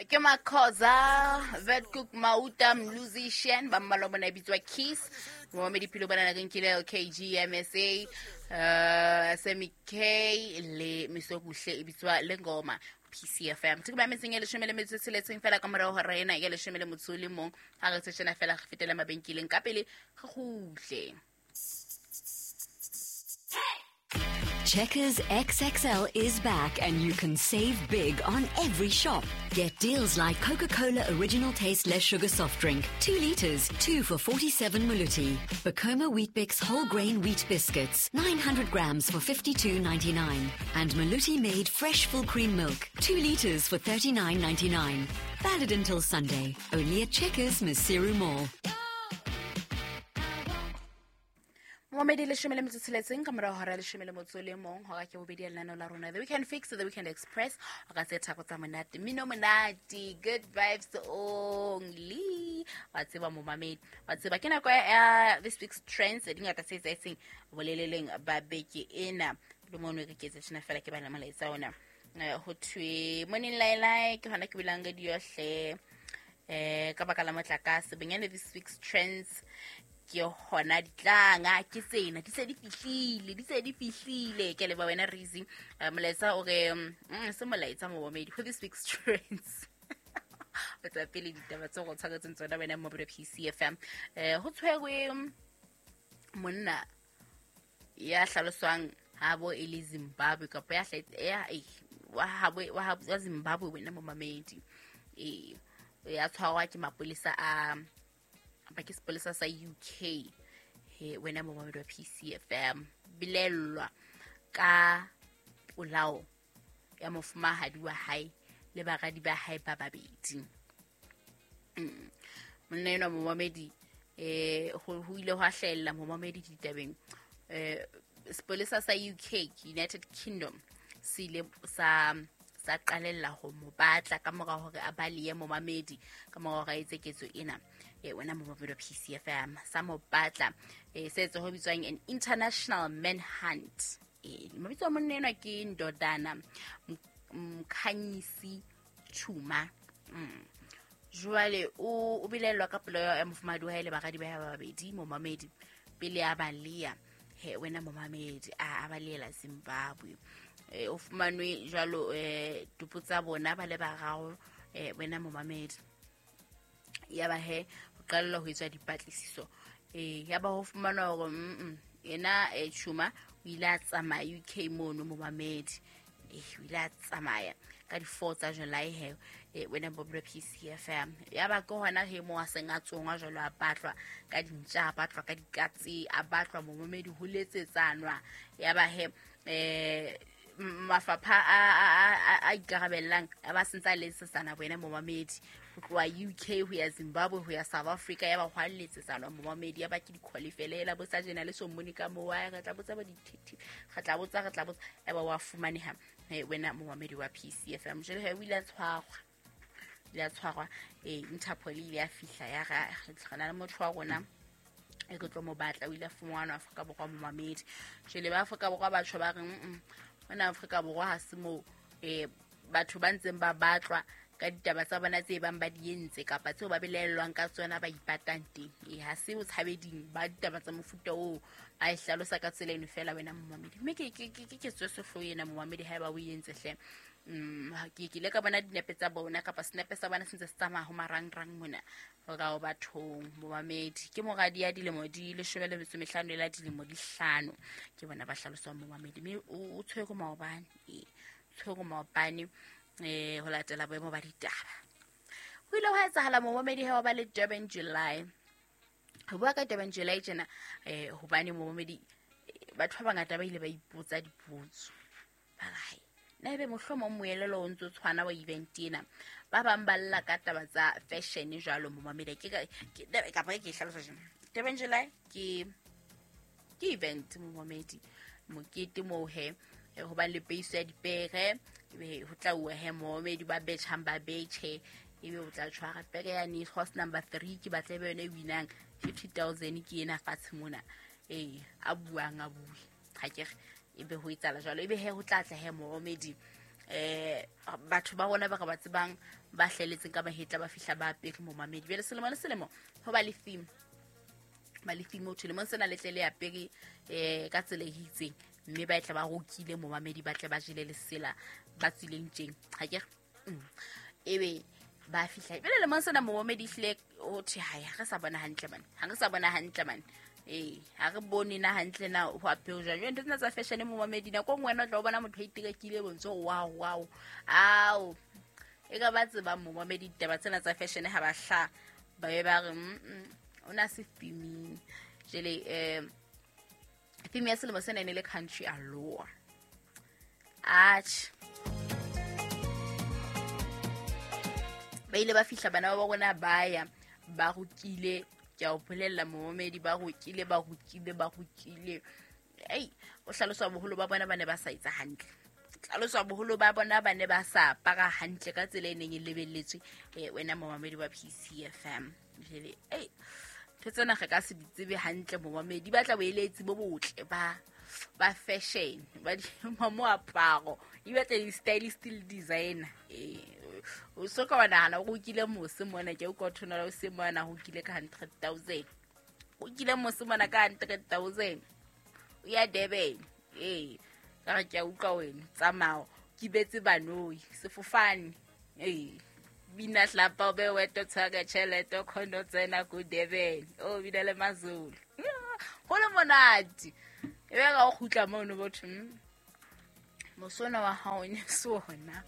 Ke Makhoza, Vetkoek, Mauta, Musician, ba mmalwa bona e bitswa Kiss. Momamedi Philo bona re nkile LKG, MSA, Sammy K le Misokuhle e bitswa Lengoma. PCFM. Ke ba metseng e 16 fela ka morao hora ena ya 11. Ha re tshena fela re fetela mabenkeleng ka pele re kgutle. Checkers XXL is back and you can save big on every shop. Get deals like Coca-Cola Original Taste Less Sugar Soft Drink, 2 liters, 2 for 47 Maluti. Bacoma Weet-Bix Whole Grain Wheat Biscuits, 900 grams for 52.99. And Maluti Made Fresh Full Cream Milk, 2 liters for 39.99. Valid until Sunday, only at Checkers Maseru Mall. Momedi 16 ka morao hora 11, hora ke bobedi ya lenaneo la rona The Weekend Fix, The Weekend Express. O ka tse thako tsa monate, mmino monate, good vibes only. Wa tseba momamedi, wa tseba ke nako ya this week's trends di ngata tse etsahetseng boleleleng ba beke ena. Le mono re ke tse tjena fela ke bana molaetsa ona. Ho thwe morning lailai ke hona ke bulang radio hle. Ka baka la motlakase bonyane this week's trends ke hona ditlanga ke tsena di se di fihlile ke leba wena Rizi. Molaetsa o re se molaetsa momamedi ho this week's trends. O tsa pele ditaba tse go tshwaretseng tsona wena mo PCFM. Ho tshwerwe monna ya hlaloswang habo e le Zimbabwe kapa ya wa Zimbabwe wena momamedi. Ya tshwarwa ke mapolesa a ba ke sepolesa sa UK. He wena momamedi wa PCFM bilellwa ka polao ya mofumahadi wa hae le baradi ba hae ba babedi. Monna enwa momamedi ho ile hwa hlahella momamedi ditabeng. Sepolesa sa UK, United Kingdom, se ile sa qalella ho mo batla ka mora hore a balehe momamedi ka mora hore a etse ketso ena. Wena momamedi wa PCFM sa mo batla, se etse ho bitswang an international manhunt. Mabitso a monna enwa ke Ndodana Mkhanyisi Chuma. Jwale o bilellwa ka polao ya mofumahadi wa hae le baradi ba hae ba babedi momamedi pele a baleha. He wena momamedi a balehela Zimbabwe. O fumanwe jwalo tupo tsa bona ba le bararo, wena momamedi. Ya ba he ho qalella ho etswa dipatlisiso. Ya ba ho fumanwa hore yena Chuma o ile a tsamaya UK mono momamedi. O ile a tsamaya ka di 4 tsa July he wena Boblo PCFM. Ya ba ke hona he mo a seng a tsongwa jwalo a batlwa ka dintja, a batlwa ka dikatse, a batlwa momamedi ho letsetsanwa. Ya ba he mafapha a ikarabellang a ba sentse a letsetsana wena momamedi ho tloha UK ho ya Zimbabwe ho ya South Africa. Ya ba hwa letsetsana momamedi, ya ba ke di-qualifela bo sa jena le so mmone ka moo re tla botsa ba detective, re tla botsa ya ba wa fumaneha wena momamedi wa PCFM. Jwale he o ile a tshwarwa, Interpol ile ya fihla ya re na le motho wa rona e re tlo mo batla. O ile a fumanwa Afrika Borwa momamedi. Jwale ba Afrika Borwa batho ba reng mona Afrika Borwa ha se moo batho ba ntseng ba batlwa ka ditaba tsa bona tse bang ba di entse kapa tseo ba belaellwang ka tsona ba ipatang teng. Ha se o tshabeding ba ditaba tsa mofuta oo a e hlalosa ka tsela eno fela wena momamedi. Mme ke ketso e sehloho ena momamedi haeba o entse hle. Ke ile ka bona dinepe tsa bona kapa senepe sa bona se ntse se tsamaya ho marangrang mona hore o bathong momamedi. Ke moradi ya dilemo di 15 le la dilemo di 5 ke bona ba hlaloswang momamedi. Mme o tshwerwe maobane, ho latela boemo ba ditaba. Ho ile hwa etsahala momamedi ha ba le Durban July. Ho bua ka Durban July tjena hobane momamedi batho ba bangata ba ile ba ipotsa dipotso. Ba re na ebe mohlomong moelelo o ntso tshwana wa event ena. Ba bang ba lla ka taba tsa fashion jwalo momamedi. Ke kapa ke hlalosa jwang. Durban July ke event momamedi, mokete moo he ho ba le peiso ya dipere, ebe ho tla uwa he momamedi ba betjhang ba betjhe, ebe o tla tshwara pere ya ni horse number 3 ke batla ebe yona e winang 50,000 ke ena fatshe mona. A buang a bue ha ke re Ebe ho etsala jwalo, ebe he ho tla tla he momedi batho ba rona ba re ba tsebang ba hleletseng ka mahetla ba fihla ba apere momamedi. Jwale selemo le selemo ho ba le theme, ba le theme ho thwe lemong sena le tle le apere ka tsela e itseng, mme ba tla ba rokile momamedi, ba tle ba jele lesela ba tswileng tjeng ha ke ebe ba fihla. Jwale lemong sena momamedi hlile ho thwe hai ha re sa bona hantle man, ha re sa bona hantle man. Ha re bone na hantle na ho apere jwang. Jwale ntho tsena tsa fashion momamedi, nako e nngwe wena o tla o bona motho a iterekile bontsho wow wow ao e ka ba tsebang momamedi ditaba tsena tsa fashion ha ba hla ba be ba re o na se theming. Jwale theme ya selemo sena e ne le country allure. Atjhe, ba ile ba fihla bana ba rona ba ya ba rokile, ke a o bolella momamedi, ba rokile ba rokile ba rokile. Ei, o hlaloswa boholo ba bona ba ne ba sa etsa hantle, hlaloswa boholo ba bona ba ne ba sa apara hantle ka tsela e neng e lebelletswe wena momamedi wa PCFM. Jwale ei, ntho tsena re ka se di tsebe hantle momamedi, ba tla boeletsi bo botle ba fashion ba moaparo, e batla di-stylist le designer. O so ka wa nahana o kile mose mona, ke o ka thona o se mona ho kile ka 100,000, o kile mose mona ka 100,000 o ya Durban. Ka re ke a utlwa wena, tsamao ke betse banoi sefofane. Bina hlapa o be weto tshwara tjhelete o khone ho tsena ko Durban, o bina le Mazulu ho le monate. Ebe ka o kgutla mono botho mosona wa hao ne se ona.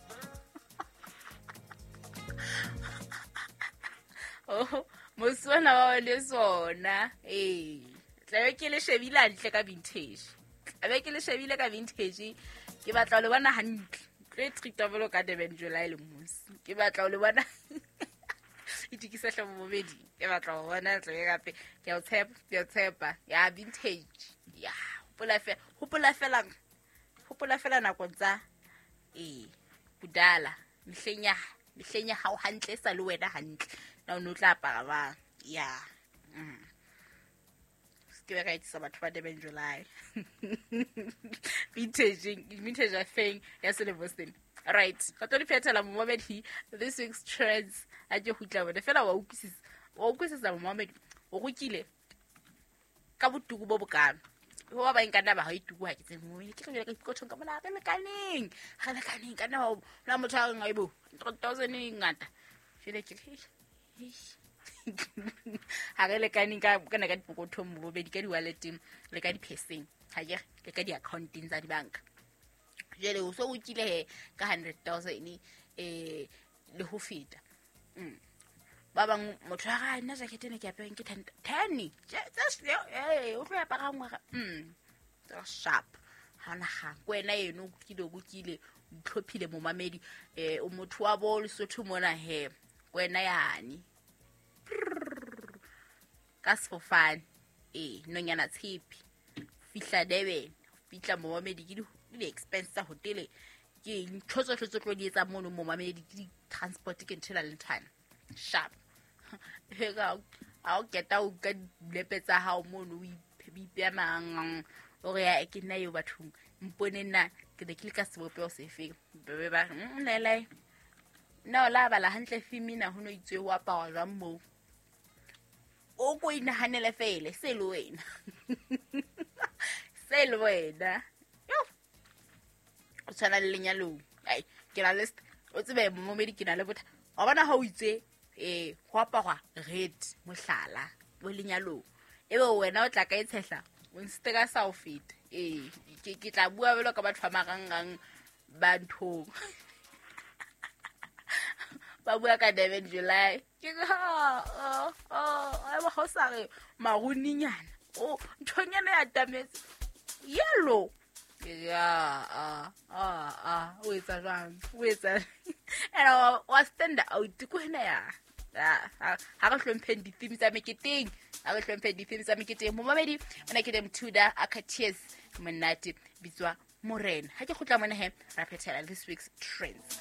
Oh, mosona wa hao ne se ona. Tlabe ke le shebile hantle ka vintage, tlabe ke le shebile ka vintage. Ke batla ho le bona hantle, tlo e treat-a jwalo ka Durban July le mose. Ke batla ho le bona itukise hle bobedi, ke batla ho bona tlabe gape. Ke a o tshepa, ke a o tshepa ya vintage. Ya hopola fela nakong tsa bodala, mehleng ya hao hantle, e sa le wena hantle na o ne o tla apara bang. Ya ke be ka etsisa batho ba Durban July. Vintage afeng ya selemo sena. Right, re tlo di phethela momamedi this week's trends. A ke kgutla bone fela wa utlwisisa momamedi o rokile ka botuku bo bokana. Ho ba bang ka nna ba ha ituku ha ke tsebe momamedi, ke re ka dikothong ka mona re lekaneng ka nna na motho a reng aibo 3,000 e ngata. Jwale ke ha re lekaneng ka kana ka dipokothong bobedi, ka di-walleteng le ka di-purse-eng, ha ke le ka di-account-eng tsa dibanka. Jwale o so o kile he ka 100,000 le ho feta. Ba bang motho a re nna jacket ena ke apereng ke 10 o tlo apara ngwe sharp ha ona ga wena eno o kile o itlhophile momamedi. O motho wa bo Lesotho mona he wena yane ka sefofane nonyana tshepe fihla Durban, fihla momamedi ke di-expense tsa hotele, ke ntho tsohle tse tlo di etsa mono momamedi, ke di-transport, ke ntho ena le nthwana sharp. Ha o keta o ka dilepe tsa hao mono o ipeya mang o re ya ke nna eo bathong mpone nna ke ne ke le ka sebopeho sefeng. Be ba re lele nna o la bala hantle femina ho no itswe ho aparwa jwang moo, o ko inahanele fele se le wena se le wena o tshwana le lenyalong. Ai ke na le o tsebe momamedi ke na le botha wa bona ha o itse ho aparwa red mohlala bo lenyalong, ebe wena o tla ka e tshehla o nsete ka sa o feta. Ke tla bua jwalo ka batho ba marangrang ba nthong ba bua ka Durban July. Ke ha ho sa re maruninyana o nthonyana ya tametse yellow ya o etsa jwang o etsa and wa stand out ko hena ya ha re hlompheng di-theme tsa meketeng, ha re hlompheng di-theme tsa meketeng. Momamedi ona ke dem Tudor Akatears monate bitswa Morena. Ha ke kgutla mona he ra phethela this week's trends.